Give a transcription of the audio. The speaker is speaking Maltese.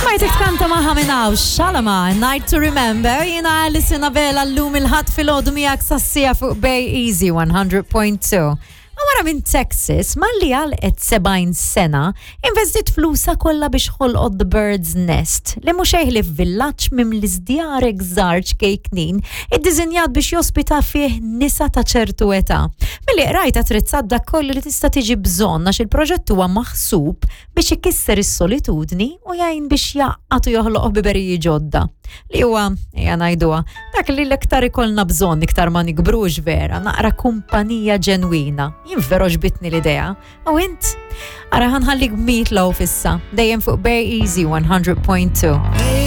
Smajtek tkanta maħa minn hawn, Shalama, Night to Remember, jiena Alison Abela llum il-ħadd filgħodu miegħek sassija fuq Bay Easy 100.2. Mara minn Texas, malli għalqet 70 sena, investit flusa kollha biex ħolqot The Bird's Nest, li mhux ħlief villaġġ mimli żdjarek żgħar ċkejknin, iddiżinjat biex jospita fih nisa ta' ċertu età. Milli qrajt attrezzat dak kollu li tista' tiġi bżonn għax il-proġett huwa maħsub biex ikisser is-solitudni u jgħin biex jgħaqqad u joħloq ħbiberiji ġodda. Li huwa, ejja ngħiduha, dak li l-iktar ikollna bżonn iktar ma nikbrux vera, naqra kumpanija ġenwina. Jien vera ġbitni l-idea. U int? Ara ħanħallik Meatloaf issa, dejjem fuq Bay Easy 100.2.